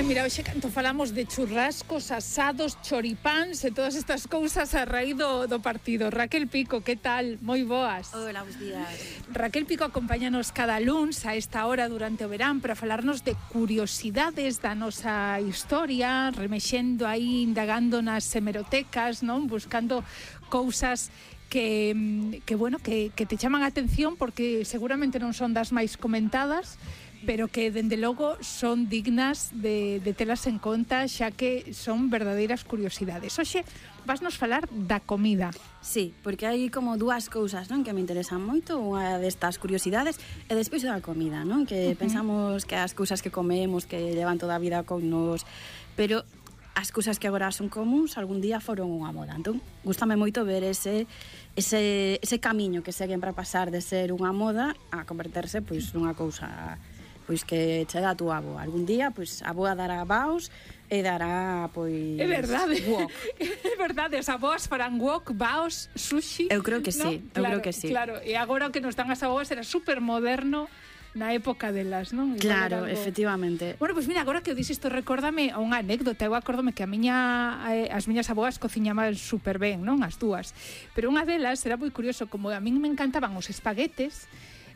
Ai, mira, hoxe canto falamos de churrascos, asados, choripáns e todas estas cousas a raíz do partido. Raquel Pico, que tal? Moi boas. Hola, bons días. Raquel Pico acompáñanos cada luns a esta hora durante o verán para falarnos de curiosidades da nosa historia, remexendo aí, indagando nas hemerotecas, non? Buscando cousas que te chaman a atención porque seguramente non son das máis comentadas, pero que, dende logo, son dignas de telas en conta, xa que son verdadeiras curiosidades. Hoxe, vasnos falar da comida. Sí, porque hai como dúas cousas, non, que me interesan moito. Unha destas curiosidades e despois da comida, non? Que pensamos que as cousas que comemos, que levan toda a vida con nos, pero as cousas que agora son comuns algún día foron unha moda. Entón, gústame moito ver ese camiño que seguen para pasar de ser unha moda a converterse pois nunha cousa pois que che dá a túa avoa. Algún día, pois, a avoa dará baos e dará, pois... É verdade. Wok. É verdade, as avoas farán wok, baos, sushi... Eu creo que sí, ¿no? eu creo que sí. Claro, e agora o que nos dan as avoas era super moderno na época delas, non? Claro, efectivamente. Bueno, pois mira, agora que o dixes isto, recórdame unha anécdota. Eu acórdome que as miñas avoas cociñaban super ben, non? As dúas. Pero unha delas era moi curioso, como a min me encantaban os espaguetes,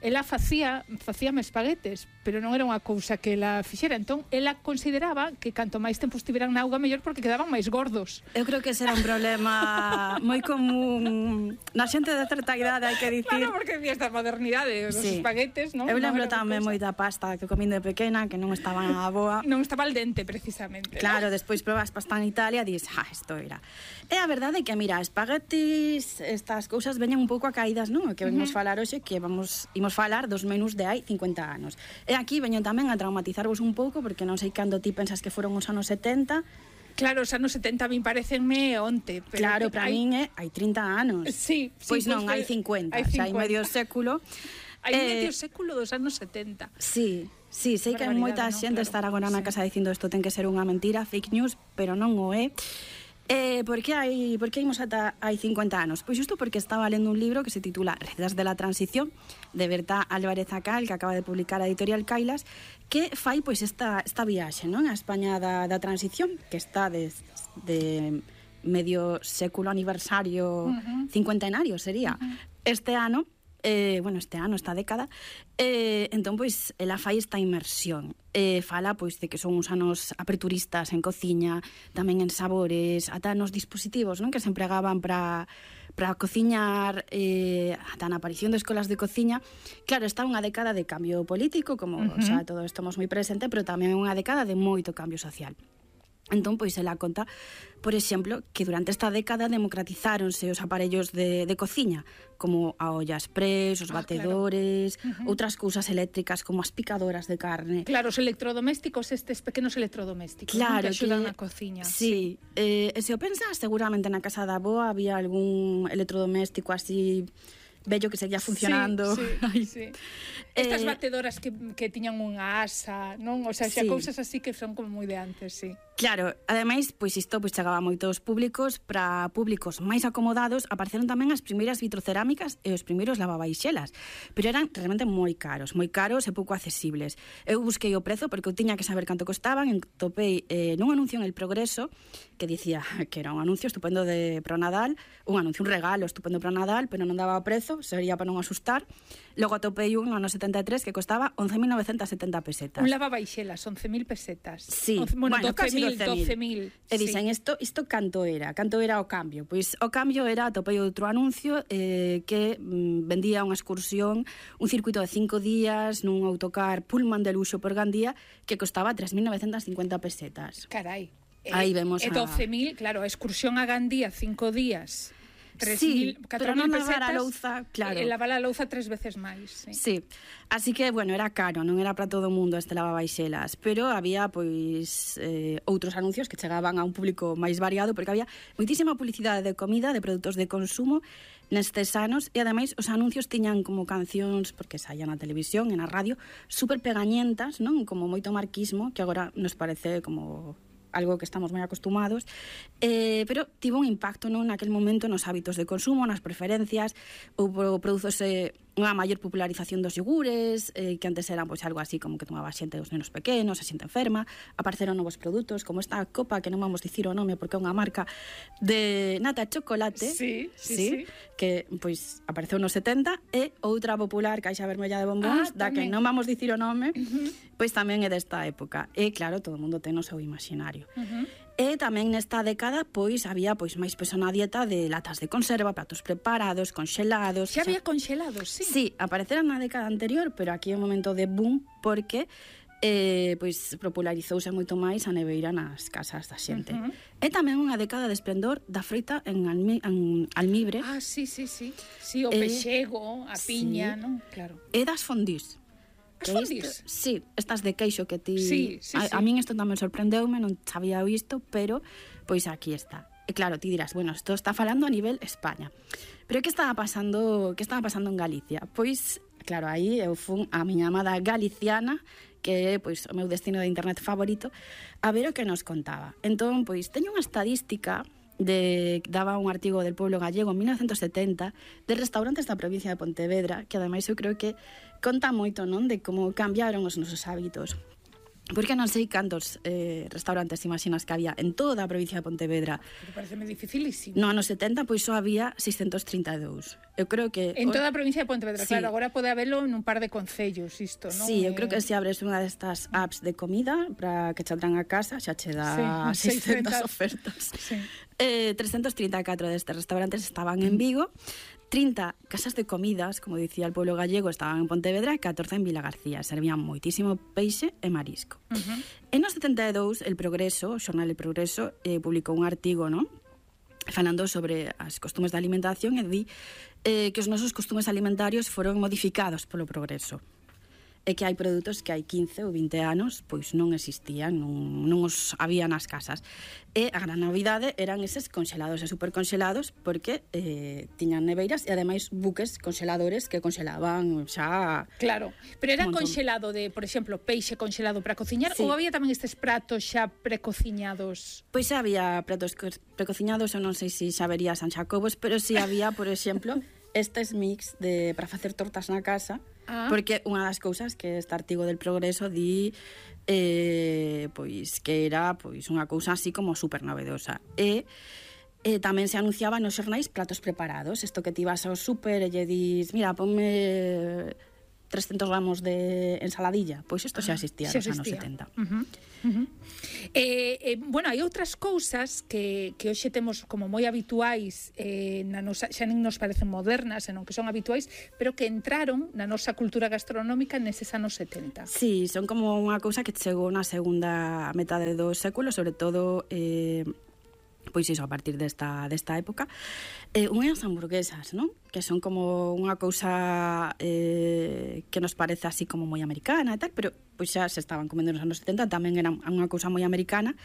ela facíame espaguetes, pero non era unha cousa que ela fixera. Entón, ela consideraba que canto máis tempo estiveran na auga mellor porque quedaban máis gordos. Eu creo que ese era un problema moi común na xente de certa idade, hai que dicir. Claro, porque vi esta modernidade dos espaguetes, non? Eu lembro tamén moi da pasta que comín de pequena, que non estaba na boa. Non estaba al dente, precisamente. Claro, despois probas pasta en Italia e dis, isto era. E a verdade é que, mira, espaguetis, estas cousas veñen un pouco a caídas, non? O que vamos falar hoxe, que imos falar dos menús de hai 50 anos. E aquí veño tamén a traumatizarvos un pouco, porque non sei cando ti pensas que foron os anos 70. Claro, os anos 70 a min parecenme onte. Pero claro, para min hai 30 anos. Sí. Pois non, hai 50. Hai medio século. Hai medio século dos anos 70. Sí, sei que moita xente estará agora na casa dicindo isto ten que ser unha mentira, fake news, pero non o é. Por que imos ata hai 50 anos? Pois xusto porque estaba lendo un libro que se titula Redes de la Transición, de Berta Álvarez Acal, que acaba de publicar a editorial Cailas, que fai pois esta viaxe, non? A España da transición, que está de medio século aniversario, cincuentenario sería. Este ano, esta década, entón, pois, ela fai esta inmersión. Fala, pois, de que son uns anos aperturistas en cociña, tamén en sabores, ata nos dispositivos, non? Que se empregaban para cociñar, ata na aparición de escolas de cociña. Claro, está unha década de cambio político, como xa todos estamos moi presente, pero tamén unha década de moito cambio social. Entón, pois, ela conta, por exemplo, que durante esta década democratizáronse os aparellos de cociña, como a olla express, os batedores, outras cousas eléctricas como as picadoras de carne. Claro, os electrodomésticos, estes pequenos electrodomésticos, claro, que axudan na cociña. Sí, e se o pensas, seguramente na casa da avoa había algún electrodoméstico así bello que seguía funcionando. Sí. Estas batedoras que tiñan unha asa, non? O sea, xa cousas así que son como moi de antes, sí. Claro, ademais, pois isto pois chegaba a moitos públicos. Para públicos máis acomodados apareceron tamén as primeiras vitrocerámicas e os primeiros lavabaixelas, pero eran realmente moi caros e pouco accesibles. Eu busquei o prezo porque eu tiña que saber canto costaban e topei nun anuncio en El Progreso que dicía que era un anuncio estupendo pro Nadal, un regalo estupendo para Nadal, pero non daba o prezo, sería para non asustar. Logo atopei un no ano 73 que costaba 11.970 pesetas. Un lavabaixelas, 11.000 pesetas. Sí, bueno, casi 12.000. E dicen, isto canto era o cambio? Pois o cambio era, atopei outro anuncio que vendía unha excursión, un circuito de 5 días nun autocar Pullman de luxo por Gandía que costaba 3.950 pesetas. Carai. Aí vemos a 12.000, claro, a excursión a Gandía 5 días. 3.000, 4.000 pesetas, a louza, claro. Lavar a louza 3 veces máis. Sí, así que, bueno, era caro, non era para todo o mundo este lavabaixelas, pero había, pois, outros anuncios que chegaban a un público máis variado, porque había moitísima publicidade de comida, de produtos de consumo nestes anos, e ademais os anuncios tiñan como cancións, porque saían na televisión e na radio, super pegañentas, non? Como moito marquismo, que agora nos parece como algo que estamos moi acostumados, pero tivo un impacto, non, naquel momento nos hábitos de consumo, nas preferencias, ou produzose unha maior popularización dos yogures, que antes eran pois algo así como que tomaba xente dos nenos pequenos, a xente enferma. Apareceron novos produtos, como esta copa, que non vamos dicir o nome porque é unha marca de nata de chocolate, sí, que pois apareceu nos 70, e outra popular, caixa vermella de bombóns, da que non vamos dicir o nome, pois tamén é desta época. E claro, todo o mundo ten o seu imaginario. E tamén nesta década pois había pois máis peso na dieta de latas de conserva, pratos preparados, conxelados. Xa había conxelados, sí. Sí, apareceran na década anterior, pero aquí é un momento de boom porque pois popularizouse moito máis a neveira nas casas da xente. E tamén unha década de esplendor da froita en almibre. Ah, sí, o pexego, a piña, non? Claro. E das fondís. As fondís? Sí, estas de queixo que ti... Sí. A min isto tamén sorprendeume, non sabía isto, pero pois aquí está. E claro, ti dirás, bueno, isto está falando a nivel España. Pero que estaba pasando en Galicia? Pois, claro, aí eu fun a miña amada galiciana, que é pois o meu destino de internet favorito, a ver o que nos contaba. Entón, pois, teño unha estadística daba un artigo del Pueblo Gallego en 1970 de restaurantes da provincia de Pontevedra, que ademais eu creo que conta moito, non, de como cambiaron os nosos hábitos. Porque non sei cantos restaurantes imaginas que había en toda a provincia de Pontevedra. Pero pareceme dificilísimo. No ano 70, pois só había 632. Eu creo que... En toda a provincia de Pontevedra, sí. Claro, agora pode habelo en un par de concellos, isto, non? Sí, eu creo que se abres unha destas apps de comida para que che traen a casa, xa che dá 600 ofertas. Sí. 334 destes restaurantes estaban en Vigo, 30 casas de comidas, como dicía el pueblo gallego, estaban en Pontevedra e 14 en Vila García. Servían moitísimo peixe e marisco. En os 72, El Progreso, o xornal El Progreso, publicou un artigo, non? Falando sobre as costumes de alimentación e di que os nosos costumes alimentarios foron modificados polo progreso. E que hai produtos que hai 15 ou 20 anos pois non existían, non os había nas casas. E a gran novidade eran eses conxelados e superconxelados porque tiñan neveiras e ademais buques conxeladores que conxelaban xa... Claro, pero era conxelado de, por exemplo, peixe conxelado para cociñar, sí. Ou había tamén estes pratos xa precociñados? Pois xa había pratos precociñados, eu non sei se xa vería San Xacobos, pero si había, por exemplo, estes mix para facer tortas na casa. Porque unha das cousas que este artigo del Progreso di pois que era pois unha cousa así como super novedosa. E tamén se anunciaba nos xornais platos preparados. Isto que ti vas ao super e lle dis, mira, ponme 300 gramos de ensaladilla. Pois isto xa existía nos anos 70. Bueno, hai outras cousas que hoxe temos como moi habituais na nosa, xa non nos parecen modernas, senón que son habituais, pero que entraron na nosa cultura gastronómica neses anos 70. Sí, son como unha cousa que chegou na segunda metade do século, sobre todo pois iso, a partir desta época, unhas hamburguesas, non? Que son como unha cousa que nos parece así como moi americana e tal, pero pois xa se estaban comendo nos anos 70, tamén eran unha cousa moi americana.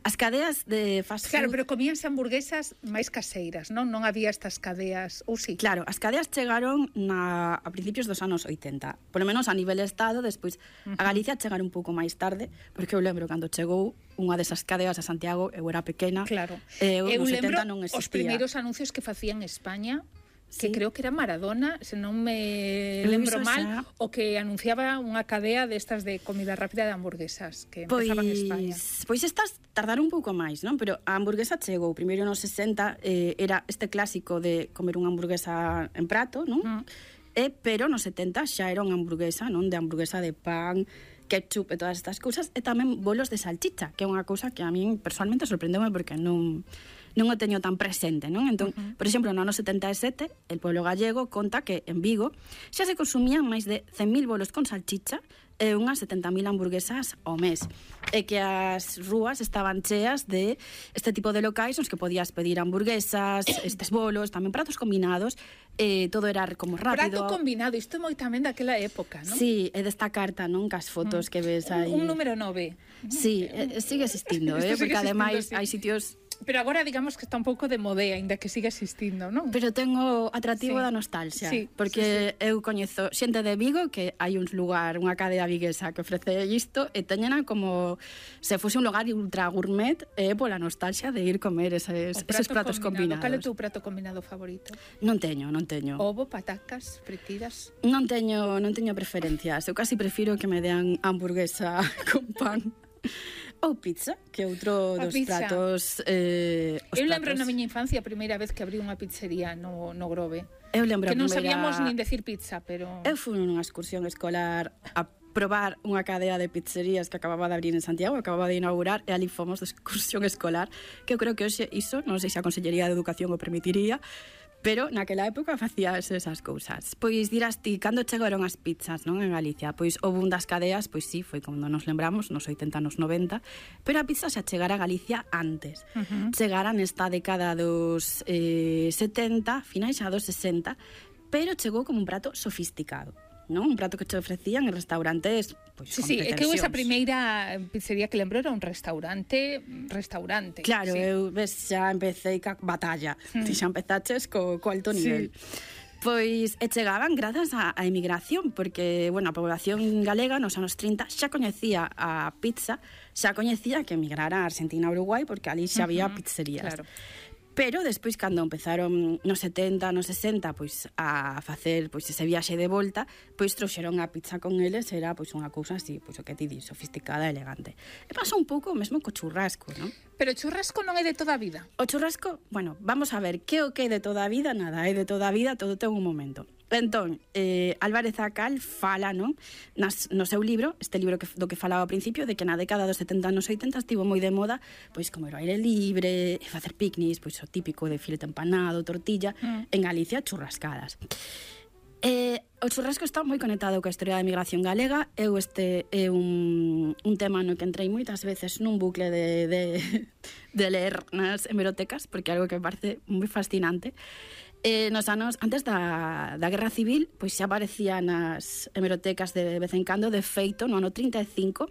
As cadeas de fast food... Claro, pero comíanse hamburguesas máis caseiras, non? Non había estas cadeas, ou sí? Claro, as cadeas chegaron a principios dos anos 80, polo menos a nivel estado, despois a Galicia chegaron un pouco máis tarde, porque eu lembro cando chegou unha desas cadeas a Santiago, eu era pequena, claro. Eu lembro non existía. Os primeiros anuncios que facían en España, que creo que era Maradona, se non me lembro mal, o que anunciaba unha cadea destas de comida rápida de hamburguesas que empezaban en España. Pois estas tardaron un pouco máis, non? Pero a hamburguesa chegou primeiro nos 60, era este clásico de comer unha hamburguesa en prato, non? Pero nos 70 xa era unha hamburguesa, non? De hamburguesa de pan, ketchup e todas estas cousas, e tamén bolos de salchicha, que é unha cousa que a min personalmente sorprendeume porque non o teño tan presente, non? Entón, por exemplo, no ano 77, el pueblo gallego conta que en Vigo xa se consumían máis de 100.000 bolos con salchicha e unhas 70.000 hamburguesas ao mes. E que as rúas estaban cheas de este tipo de locais nos que podías pedir hamburguesas, estes bolos, tamén pratos combinados, todo era como rápido. Prato combinado, isto é moi tamén daquela época, non? Sí, é desta carta, non? Cas fotos que ves aí. Un número 9. Sí, sigue existindo, porque ademais hai sitios Pero agora digamos que está un pouco de modea, ainda que siga existindo, non? Pero tengo atractivo da nostalgia, porque eu coñezo xente de Vigo que hai un lugar, unha cadea viguesa que ofrece isto e teñena como se fose un lugar ultra gourmet pola nostalgia de ir comer eses pratos combinados. Cal é o teu prato combinado favorito? Non teño. Ovo, patacas, fritidas? Non teño preferencias. Eu casi prefiro que me dean hamburguesa con pan. Ou pizza, que é outro dos pratos... Eu lembro na miña infancia a primeira vez que abrí unha pizzería no Grove. Eu lembro que non sabíamos nin decir pizza, pero... Eu fui nunha excursión escolar a probar unha cadea de pizzerías que acababa de abrir en Santiago, acababa de inaugurar, e ali fomos de excursión escolar, que eu creo que hoxe iso, non sei se a Consellería de Educación o permitiría, pero naquela época facías esas cousas. Pois dirás ti, cando chegaron as pizzas, non, en Galicia? Pois o boom das cadeas, pois sí, foi como nos lembramos, nos 80, nos 90, pero a pizza xa chegara a Galicia antes. Chegara nesta década dos 70, finais xa dos 60, pero chegou como un prato sofisticado, non? Un prato que te ofrecían en restaurantes, pois, con pretensións. É que esa primeira pizzería que lembro era un restaurante. Claro, eu xa empecé ca batalla. Ti xa empezaches co alto nivel. Pois chegaban grazas á emigración, porque, bueno, a población galega nos anos 30 xa coñecía a pizza, xa coñecía que emigrara a Argentina e Uruguai, porque ali xa había pizzerías. Claro. Pero despois, cando empezaron nos 70, nos 60, pois a facer pois ese viaxe de volta, pois trouxeron a pizza con eles, era pois unha cousa así, pois o que ti di, sofisticada, elegante. E pasou un pouco mesmo co churrasco, non? Pero o churrasco non é de toda a vida. O churrasco, bueno, vamos a ver, que o que é de toda a vida? Nada, é de toda a vida, todo ten un momento. Entón, Álvarez Acal fala, non, no seu libro, este libro do que falaba ao principio, de que na década dos 70 nos 80 estivo moi de moda, pois comer ao aire libre, facer picnics, pois o típico de filete empanado, tortilla, en Galicia churrascadas. O churrasco está moi conectado coa historia da emigración galega. Este é un tema no que entrei moitas veces nun bucle de ler nas hemerotecas, porque é algo que me parece moi fascinante. Nos anos antes da Guerra Civil, pois xa aparecía nas hemerotecas de vez en cando. De feito, no ano 35,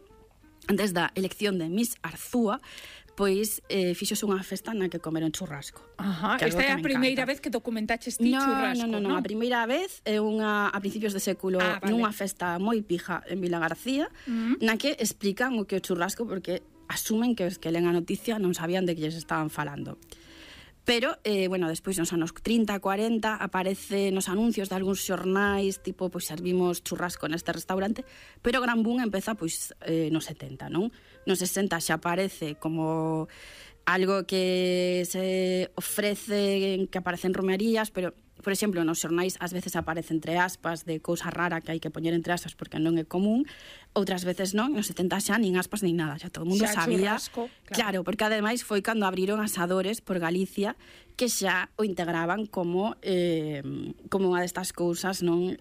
antes da elección de Miss Arzúa, pois fixose unha festa na que comeron churrasco. Esta é a primeira vez que documentaches ti churrasco, non? Non, a primeira vez é a principios de século, nunha festa moi pija en Vila García, na que explican o que é o churrasco, porque asumen que os que len a noticia non sabían de que lles estaban falando. Pero, bueno, despois nos anos 30, 40 aparece nos anuncios de algúns xornais, tipo, pois servimos churrasco neste restaurante, pero o gran boom empeza, pois, nos 70, non? Nos 60 xa aparece como algo que se ofrece, que aparece en romerías, pero, por exemplo, nos xornais ás veces aparece entre aspas de cousa rara que hai que poñer entre aspas porque non é común, outras veces non, nos 70 xa nin aspas nin nada, xa todo o mundo sabía. Churrasco, claro, porque ademais foi cando abriron asadores por Galicia que xa o integraban como unha destas cousas, non,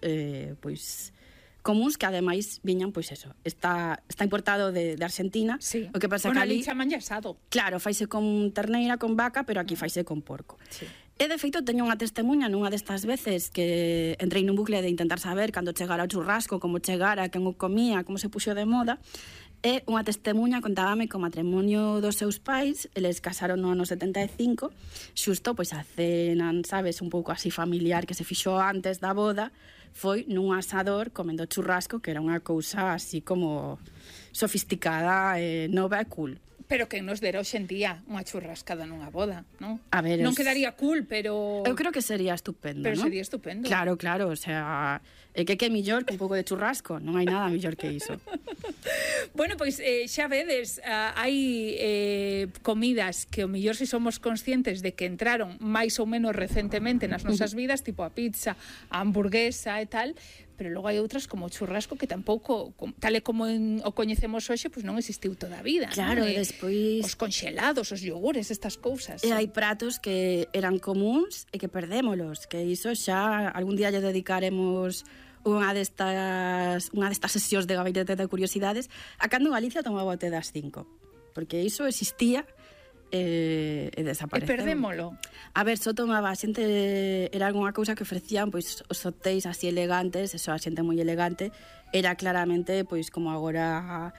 pois comuns, que ademais viñan, pois eso, está importado de Argentina. O que pasa que ali chaman asado. Claro, faise con terneira, con vaca, pero aquí faise con porco. E, de feito, teño unha testemunha nunha destas veces que entrei nun bucle de intentar saber cando chegara o churrasco, como chegara, quen o comía, como se puxo de moda. E unha testemunha contábame que o matrimonio dos seus pais, eles casaron no ano 75, xusto, pois a cena, sabes, un pouco así familiar que se fixo antes da boda, foi nun asador comendo churrasco, que era unha cousa así como sofisticada, nova e cool. Pero que nos dera hoxe en día unha churrascada nunha boda, non? A ver, non quedaría cool, pero... Eu creo que sería estupendo, pero non? Sería estupendo. Claro, o sea, que millor que un pouco de churrasco, non hai nada millor que iso. Bueno, pois xa vedes, hai comidas que o mellor se somos conscientes de que entraron máis ou menos recentemente nas nosas vidas, tipo a pizza, a hamburguesa e tal, pero logo hai outras como o churrasco que tampouco, tal e como o coñecemos hoxe, pois non existiu toda a vida. Claro, e despois os conxelados, os iogures, estas cousas. E hai pratos que eran comuns e que perdémolos, que iso xa algún día lle dedicaremos unha destas sesións de gabinete de curiosidades a cando Galicia tomaba o té das 5, porque iso existía e desapareceu. E perdémolo. A ver, só tomaba a xente, era algunha cousa que ofrecían, pois os hotéis así elegantes, eso, a xente moi elegante, era claramente, pois como agora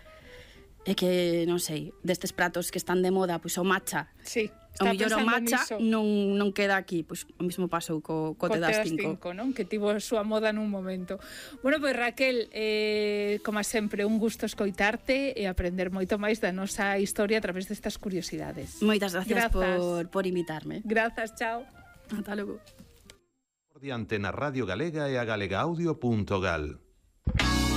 é que, non sei, destes pratos que están de moda, pois o matcha. Sí. O millor o matcha non queda aquí, pois o mesmo pasou co te das 5, non? Que tivo a súa moda nun momento. Bueno, pois Raquel, como sempre, un gusto escoitarte e aprender moito máis da nosa historia a través destas curiosidades. Moitas gracias por invitarme. Grazas, chao. Ata logo. Por diante na Radio Galega e a galegaaudio.gal.